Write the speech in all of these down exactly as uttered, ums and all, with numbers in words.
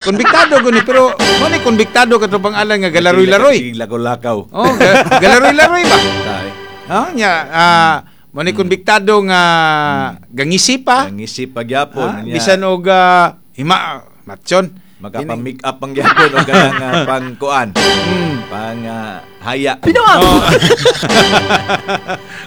Konbiktado guni, pero mo ni konbiktado, katropang Alan, nga galaroy-laroy. Sige, lakaw-lakaw. Oh, ga- galaroy-laroy ba? Ay. Ha, nya ah mo ni konbiktado nga gangisi pa. Ang isip pagyapon. Ah, Nya, bisan og ah, hima matyon. Makapa-make up ang gyapon o kanang uh, pangkuan. Mm. Pang ah, haya. Oh.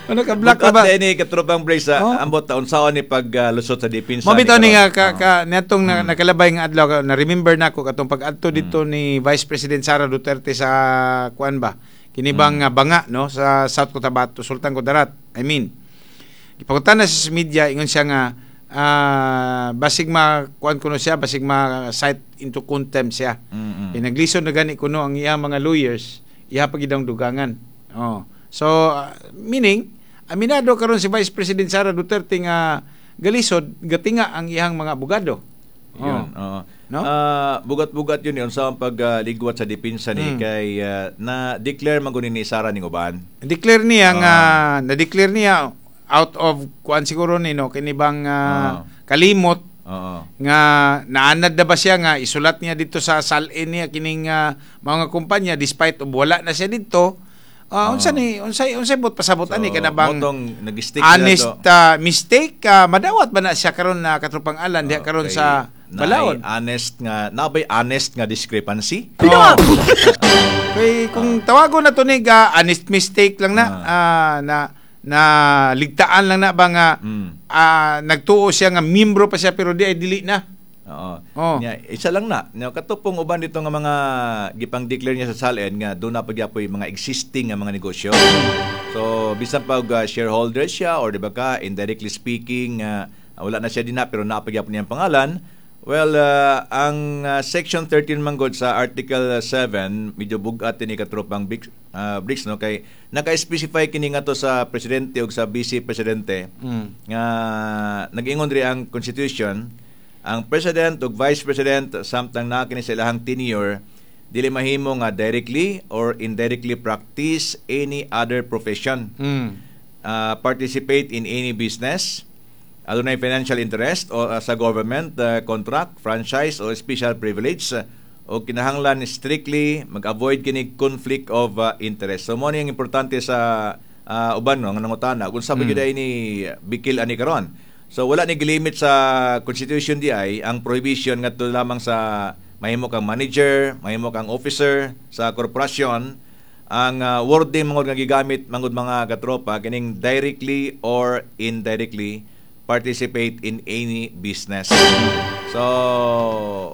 Ano ka black ka ba? Bukat ni katropang Brace sa Oh. ambot taon saon ni paglusot sa depensa. Mo bitaw ni karon. nga ka, ka niadtong na, nakalabay nga adlaw, na remember nako katong pag-adto dito ni Vice President Sara Duterte sa kuan ba, kini bang nga banga, no, sa South Cotabato, Sultan Kudarat, I mean. Gipangutana sa media, ingon siya nga ah, basig ma kuan kuno siya, basig ma cite into contempt siya. Mm-mm. Mm. Naglisod na gani kuno ang iyang mga lawyers, iya pa gid ang dugangan. Oh. So ah, meaning aminado karon si Vice President Sara Duterte nga galisod gatinga ang iyang mga abogado. Oh. Yun, oo. No? Ah, bugat-bugat yun yun sa pagligwat sa depensa ni Mm. kay ah, na declare man guni ni Sara ning uban. Declare niya nga Ah. na-declare niya out of kuan siguro ni, no, kini bang ah, Oo. kalimot Oo. nga naanad na ba siya nga isulat niya dito sa S A L N niya kining ah, mga kumpanya despite of wala na siya dito. Ah, Oo. Unsa ni unsay unsay but pasabot ani kana bang Motong nag-stick sila honest to. ah, mistake, ah, madawat ba na siya karon na, katropang Alan, diha Oo, karon kay sa naay balaod? Honest nga nabay honest nga discrepancy. Oh. Kay kung tawagon na to ni ga honest mistake lang na ah, na na ligtaan lang na ba nga Mm. ah, nagtuo siya nga membro pa siya pero di ay dili na. Oo. Oh. Nya, isa lang na. Nya, katupong uban dito nga mga gipang-declare niya sa S A L N nga doon na pagyapoy mga existing nga mga negosyo. So bisan pa og uh, shareholder siya or di ba ka indirectly speaking uh, wala na siya dinha pero napagyapon niyang pangalan. Well, uh, ang uh, Section thirteen man gud sa Article seven, medyo bugat ni katropang Bricks, uh, Bricks, no, kay naka-specify kini nga to sa presidente ug sa vice presidente Mm. nga nag-ingon diri ang constitution, ang president ug vice president samtang naa kini sa ilahang tenure dili mahimo nga directly or indirectly practice any other profession, Mm. uh, participate in any business, adunay financial interest o uh, sa government uh, contract, franchise o special privilege uh, o kinahanglan strictly mag-avoid kini conflict of uh, interest. So mo ni ang importante sa uh, uban, no, nga nangutana kung sa Mm. mm. ni bikil ani karon. So wala ni gilimit sa constitution di ay ang prohibition ngadto lamang sa mahimo kang manager, mahimo kang officer sa korporasyon. Ang uh, wording mangod nga gigamit mangod, mga katropa, kining directly or indirectly participate in any business. So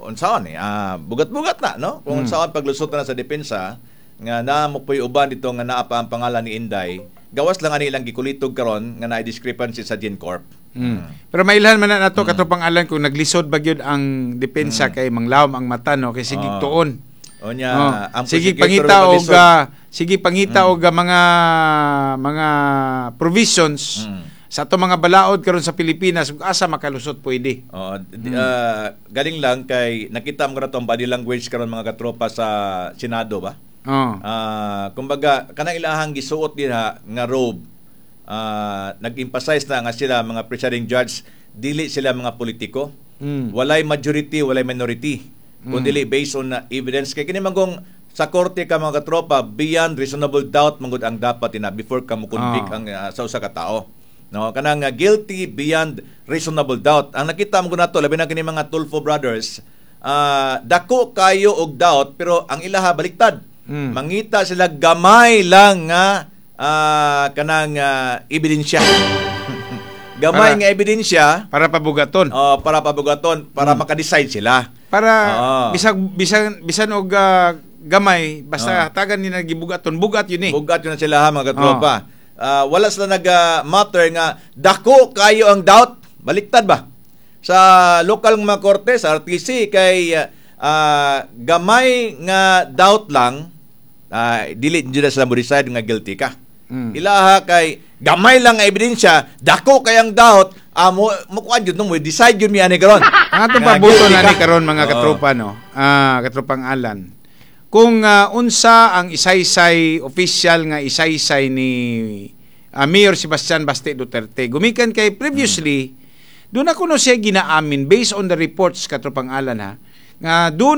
unsaon ni ah bugat-bugat na, no, kung Mm. unsaon paglusot na sa depensa nga naa mo po'y uban dito nga naa pa ang pangalan ni Inday, gawas lang ani ilang gikulitog karon nga naay discrepancy sa GenCorp. Mm. Pero mailhan man na nato, katropang Alan, kung naglisod ba gyud ang depensa kay manglawom ang mata, no, kay sige Ah. tuon. O nya Oh, ang sige prosecutor pangita og maglisod. ah, sige pangita og ah, mga mga provisions Mm. sa ato mga balaod karon sa Pilipinas ug asa makalusot pwede. Oo, di- ah, galing lang kay nakita mo na ang body language karon, mga katropa, sa Senado ba? Oh. Ah, kumbaga kanang ilahang gisuot dinha nga robe, ah, nag-emphasize na nga sila mga presiding judge, dili sila mga politiko. Mm. Walay majority, walay minority. Mm. Kundi based on uh, evidence kay kini manggong sa korte ka, mga katropa, beyond reasonable doubt manggod ang dapat ina before ka mo-convict Ah. ang uh, sa usa ka tao. No, kanang uh, guilty beyond reasonable doubt. Ang nakita mo nato labi na kini mga Tulfo brothers, ah, dako kayo og doubt pero ang ilaha baliktad. Mm. Mangita sila gamay lang nga ah, kanang ah, ebidensya. Gamay Para- nga ebidensya Para pabugaton. oh, para pabugaton, para maka-decide sila. Para Oo. bisag bisan bisan og ah, gamay basta Oo. hatagan ni nagibugaton, bugat yun eh. Bugat yun na sila ha, mga katropa. Ah, wala sila nag-matter nga dako kayo ang doubt. Baliktad ba? Sa lokal nga mga korte, sa R T C, kay ah, gamay nga doubt lang, ah, dili jud na sila mo decide nga guilty ka. Mm. Ilaha kay gamay lang nga ebidensya, dako kayang doubt, ah, mo mo kuan jud no, mo decide jud mi ani karon. Ang atong Nga pabuto guilty na ka. ni karon, mga Oo. katropa, no. Ah, katropang Alan. Kung ah, unsa ang isaysay official nga isaysay ni ah, Mayor Sebastian Baste Duterte. Gumikan kay previously doon ako no siya ginaamin based on the reports, katropang Alan ha. Nga doon